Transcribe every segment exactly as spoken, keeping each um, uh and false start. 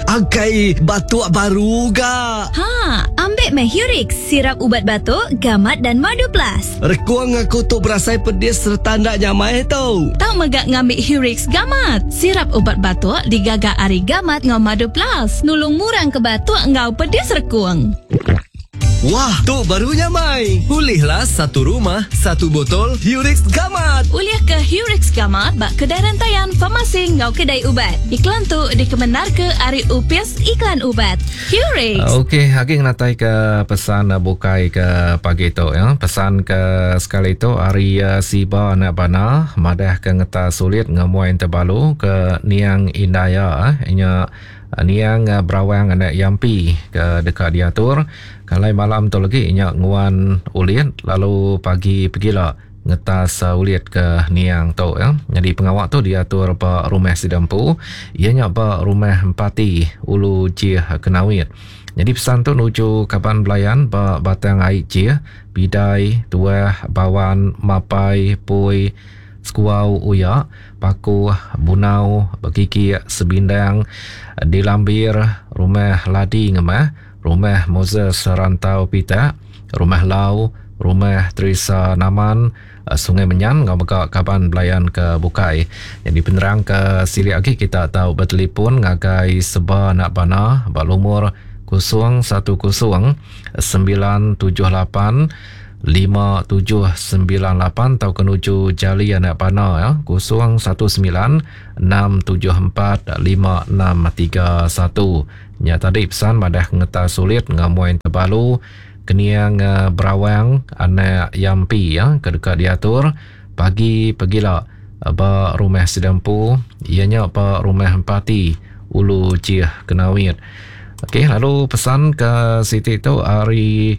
Akai, batuk baru ga. Ha, ambil meh Hurix, sirap ubat batuk, gamat dan madu plus. Rekung aku tu berasai pedis serta ndak nyamai tu. Tau megak ngambil Hurix gamat. Sirap ubat batuk digaga ari gamat ngau madu plus. Nulung murang ke batuk ngau pedis rekung. Wah, tu baru nyamai. Pulihlah satu rumah, satu botol Hurix Gamat. Ulih ke Hurix Gamat bak kedai rentayan farmasi ngau kedai ubat. Iklan tu dikemenar ke ari Upis Iklan Ubat. Hurix. Okey, agi ngenatai ke pesan bukai ke pagi tu ya. Pesan ke sekali tu ari Siba anak bana madah ke ngeta sulit ngemuai terbalu ke Niang Indaya eh nya Niang Berawang anak Yampi ke dekat diatur. Kalai malam tu lagi nya nguan ulit lalu pagi pegila ngetas ulit ke Niang tu ya. Jadi pengawak tu diatur ba rumah Sidampu, ia nya ba rumah Empati Ulu Jih Kenawit. Jadi pesan tu nuju kaban belayan ba Batang Ai Jih, Bidai, Tuah, Bawan, Mapai, Pui, Sekuau Uya, Paku, Bunau, Bekiki, Sebindang, Dilambir, Rumah Ladi Ngemah, Rumah Moses Rantau Pitak, Rumah Lau, Rumah Teresa Naman, Sungai Menyan, ngau mega kaban belayan ke bukai. Jadi penerang ke silik lagi kita tahu bertelefon ngagai Seba anak bana ba lumur kosong satu kosong sembilan tujuh lapan lima tujuh sembilan lapan atau kenuju Jali anak bana ya kosong satu sembilan enam tujuh empat lima enam tiga satu. Nya tadi pesan madah ngeta sulit ngamuai terbalu Keniang Berawang anak Yampi ya ke dekat diatur pagi pegila ba rumah Sidampu, ianya ba rumah Empati Ulu Jih Kenawit. Okey, lalu pesan ke siti tu ari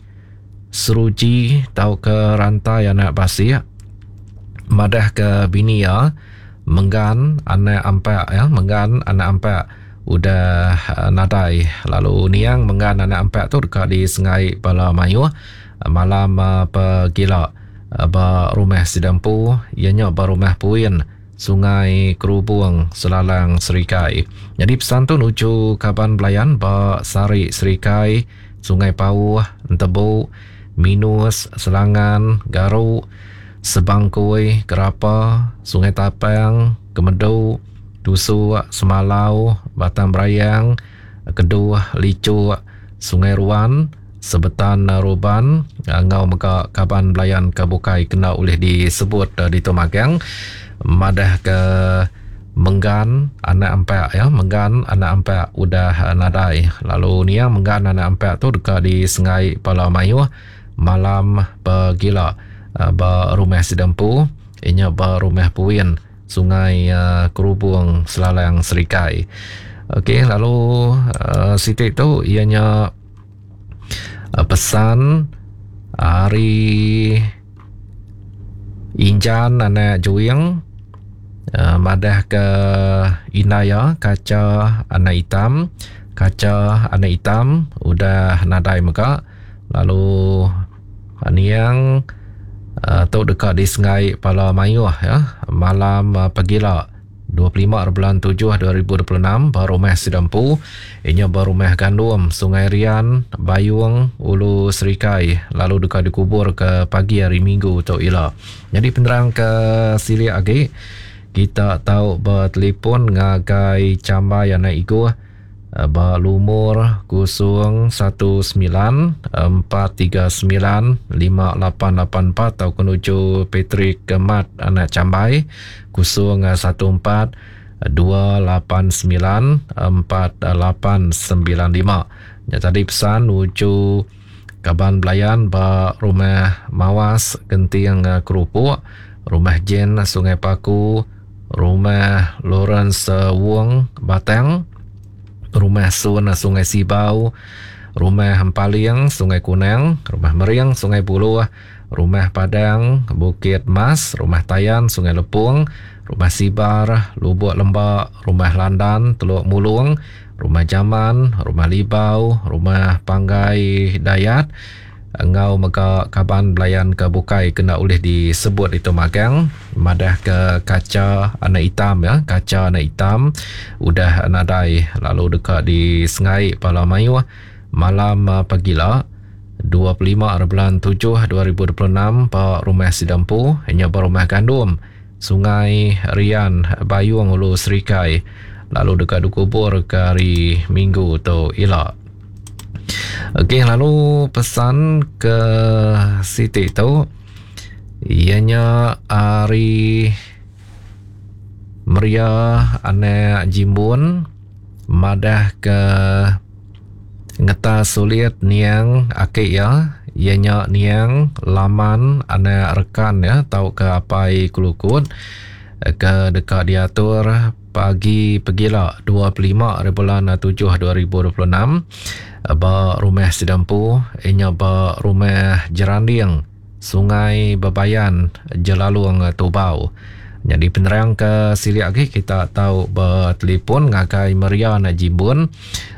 Seruji tau ke Rantai anak Basik madah ke bini ya Menggan anak Ampak ya Menggan anak Ampak udah uh, nadai. Lalu Niang Menggan anak Ampak tu dekat di Sengai Bala Mayuh malam uh, pegila uh, ba rumah Sidampu, ianya ba rumah Puin Sungai Kerubung Selalang Serikai. Jadi pesan tu nuju kaban belayan ba Sari Serikai, Sungai Pauh, Entebu, Minus, Selangan, Garuk, Sebangkui, Kerapa, Sungai Tapang, Kemedu, Tusuk, Semalau, Batang Berayang, Keduh, Licuk, Sungai Ruan, Sebetan Ruban, ngau mega kaban belayan ke bukai kena oleh disebut di Tumagang. Madah ke Menggan anak Ampak ya, Menggan anak Ampak udah nadai. Lalu Niang Menggan anak Ampak tu dekat di Sengai Pala Mayuh malam pegila ba rumah Sidampu, inya ba rumah Puin Sungai Kerubung Selalang Serikai. Okey, lalu uh, siti tu ianya uh, pesan hari Injan anak Juing uh, madah ke Inaya kaca anak hitam, kaca anak hitam udah nadai mega. Lalu Niang Uh, tu dekat di Sengai Pala Mayuh ya malam uh, pegila dua puluh lima bulan tujuh dua ribu dua puluh enam ba rumah Sidampu, inya ba rumah Gandum Sungai Rian Bayung Ulu Serikai, lalu dekat dikubur ke pagi hari Minggu tu ila. Jadi penerang ke silik agi kita tahu bertelefon ngagai Cambai anak Iguh ba lumur kosong satu sembilan empat tiga sembilan lima lapan lapan empat atau menuju Patrick Kemat anak Cambai kosong satu empat dua lapan sembilan empat lapan sembilan lima. Ya, tadi pesan nuju kaban belayan ba rumah Mawas Genting Kerupuk, rumah Jen Sungai Paku, rumah Lawrence Wong Batang, rumah Sun Sungai Sibau, rumah Empaling Sungai Kunang, rumah Mering Sungai Buluh, rumah Padang Bukit Mas, rumah Tayan Sungai Lepung, rumah Sibar Lubuk Lembak, rumah Landan Teluk Mulung, rumah Jaman, rumah Libau, rumah Panggai Dayat, Ngau mega kaban belayan ke bukai kena ulih disebut itu magang madah ke kaca anak hitam ya, kaca anak hitam udah nadai lalu dekat di Sengai Pala Mayuh malam pagila dua puluh lima bulan tujuh dua ribu dua puluh enam ba rumah Sidampu nya ba rumah Gandum Sungai Rian Bayung Ulu Serikai lalu dekat dikubur ke hari Minggu tu ila. Okey, lalu pesan ke Siti tu ianya hari Meria anak Jimbun madah ke ngeta sulit niang akik ya, ianya niang laman anak rekan ya tau ke apai kelukut ke dekat diatur pagi pegila dua puluh lima bulan tujuh dua ribu dua puluh enam ba rumah Sidampu inya ba rumah Jeranding Sungai Bebayan Jelalung Tubau. Jadi penerang ke silik lagi kita tahu bertelefon ngagai Meria anak Jimbun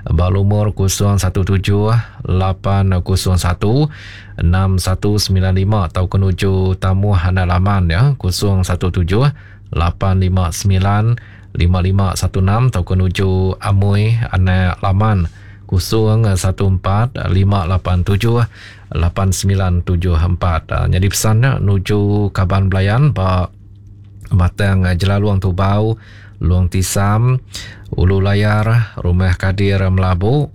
ba lumur kosong satu tujuh lapan kosong satu enam satu sembilan lima atau kenuju tamu anak laman ya kosong satu tujuh lapan lima sembilan lima lima satu enam atau kenuju Amui anak laman kosong satu empat lima lapan tujuh lapan sembilan tujuh empat. Jadi pesannya nuju kaban belayan ba Batang Jelalung Tubau, Luang Tisam, Ulu Layar, Rumah Kadir Melabu,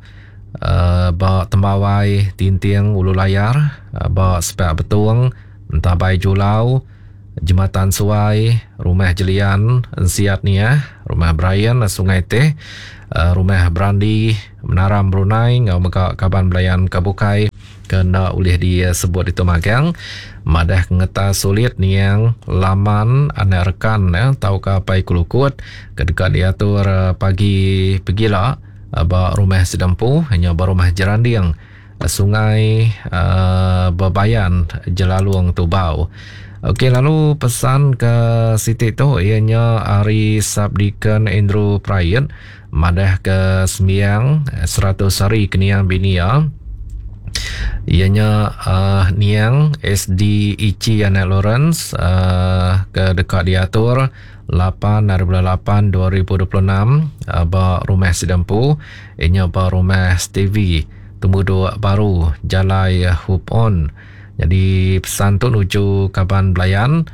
uh, ba Tembawai Tinting Ulu Layar, uh, ba Sepak Betung, Entabai Julau, Jembatan Suai, Rumah Jelian, Ensiat Niah, Rumah Brian, Sungai Teh, uh, Rumah Brandi, Menaram Brunei, ngau mega kaban belayan kebukai kena ulih disebut itu magang madah ngeta sulit niang laman anak rekan ya tau ke apai kulukut kedekat diatur pagi pegila ba rumah Sidampu hanya ba rumah Jeranding Sungai uh, Bebayan Jelalung Tubau. Okey, lalu pesan ke Siti tu ianya hari Sabdikan Andrew Prayet madah ke sembiang seratus hari keniang binia ianya uh, niang S D Ichi anak Lawrence uh, ke dekat diatur lapan hari bulan lapan dua ribu dua puluh enam uh, ba rumah Sidampu ianya ba rumah Stevie Temuduk Baru Jalai Hope On. Jadi pesan tu nuju kaban belayan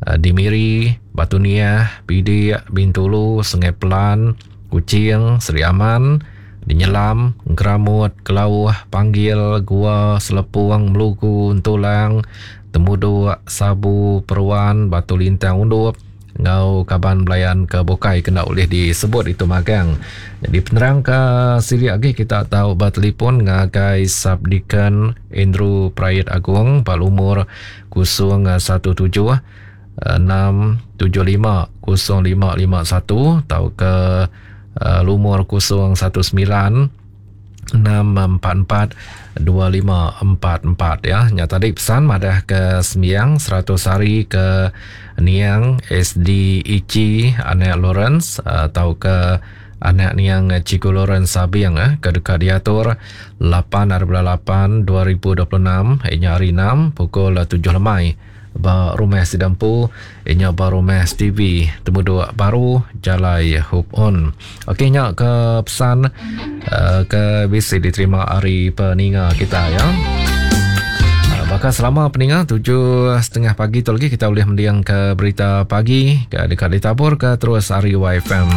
uh, di Miri, Batu Niah, Pidik, Bintulu, Sungai Pelan, Kuching, Seri Aman, di Nyelam, Geramut, Kelauh, Panggil, Gua, Selepung, Melugu, Entulang, Temuduk, Sabu, Peruan, Batu Lintang, Undup, ngau kaban belayan ke Bokai kena boleh disebut itu magang. Jadi penerang ke silik lagi kita tahu bertelefon ngagai Sabdikan Andrew Prayet Agung palumur kosong satu tujuh enam tujuh lima kosong lima lima satu atau ke uh, lumur kosong satu sembilan enam empat empat dua lima empat empat ya. Nya tadi pesan madah ke sembiang seratus hari ke niang S D Ichi anak Lawrence atau ke anak niang Cikgu Lawrence Sabiang eh, ke dekat diatur lapan hari bulan lapan dua ribu dua puluh enam inya hari enam pukul tujuh lemai ba rumah Sidampu inya ba rumah Stevie Temuduk Baru Jalai Hope On. Okey, nya ke pesan uh, ke bisi diterima hari peninga kita ya. Uh, bakal selama peninga tujuh setengah pagi tu lagi kita boleh mendiang ke berita pagi ke dekat ditabur ke terus hari Y F M.